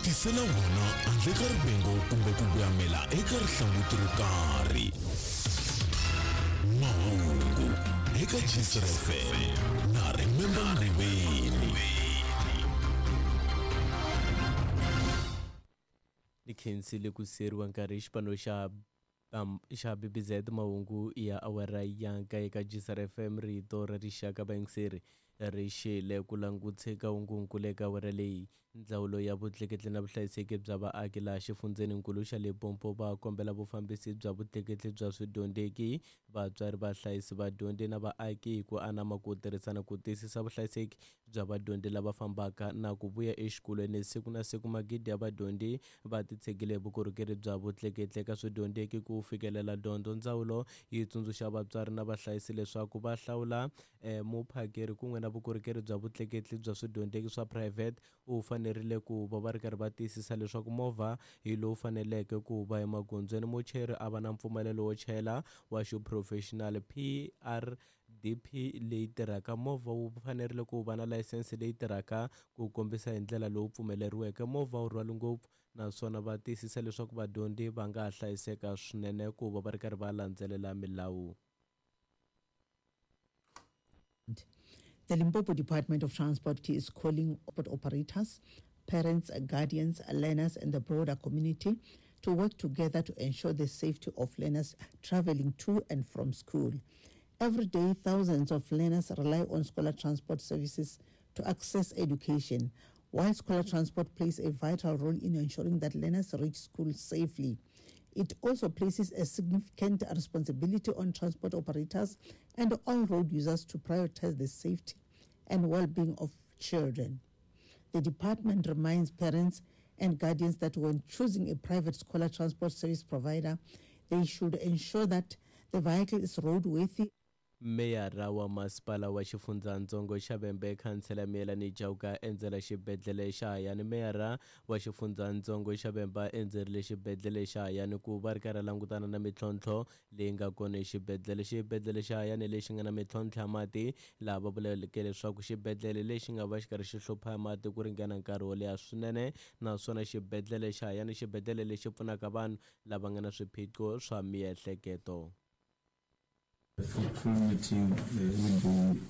ku tisela wona handle ka rivengo kumbe ku voyamela eka rihlanguti ro karhi. Mahungu eka Gcr FM na Remember Nguveni. Ni khensile ku siyeriwa nkarhi hi xipano xa xa BBZ mahungu ya awara ya nkaye ka Gcr FM rito ra rixaka vayingiseri ri xile ku langutse ka hungunkulu eka awara leyi. Ndzawulo ya vutleketli na vuhlayiseki bya vaaki laha xifundzheninkulu xa Limpopo va kombela vufambisi bya vutleketli bya swidyondzeki, vatswari, vahlayisi, vadyondzi na vaaki hi ku anama ku tirhisana ku tiyisisa vuhlayiseki bya vadyondzi lava fambaka na ku vuya exikolweni siku na siku. Magidi ya vadyondzi va titshegile hi vukorhokeri bya vutleketli eka swidyondzeki ku fikelela dyondzo. Ndzawulo yi tsundzuxa vatswari na vahlayisi leswaku va hlawula muphakeri kun'we na vukorhokeri bya vutleketli bya swidyondzeki swa phurayivhete. U fanerile ku va va ri karhi va tiyisisa leswaku movha hi lowu faneleke ku va emagondzweni, muchayeri a va na mpfumelelo wo chayela wa xiphurofexinali, PRDP, leyi tirhaka. Movha wu fanerile ku va na layisense leyi tirhaka ku kombisa hi ndlela lowu pfumeleriweke. Movha wu rhwali ngopfu naswona va tiyisisa leswaku vadyondzi va nga ha hlayiseka swinene ku va va ri karhi va landzelela milawu. The Limpopo Department of Transport is calling operators, parents, guardians, learners, and the broader community to work together to ensure the safety of learners traveling to and from school. Every day, thousands of learners rely on scholar transport services to access education. While scholar transport plays a vital role in ensuring that learners reach school safely, it also places a significant responsibility on transport operators and all road users to prioritize the safety and well-being of children. The department reminds parents and guardians that when choosing a private scholar transport service provider, they should ensure that the vehicle is roadworthy. Meyara wa masipala wa xifundzatsongo xa Vhembe Khansela Miyelani Chauke a endzela xibedhlele xa Hayani. Meyara wa xifundzatsongo xa Vhembe a endzerile xibedhlele xa Hayani ku va ri karhi a langutana na mintlhontlho leyi nga kona exibedhlele. Xibedhlele xa Hayani lexi nga na mintlhontlho ya mati, laha va vuleke leswaku xibedhlele lexi nga va xi karhi xi hlupha hi mati ku ringana nkarhi wo leha swinene, naswona xibedhlele xa Hayani xibedhlele lexi pfunaka vanhu lava nga na swiphiqo swa miehleketo. The fruitful meeting will be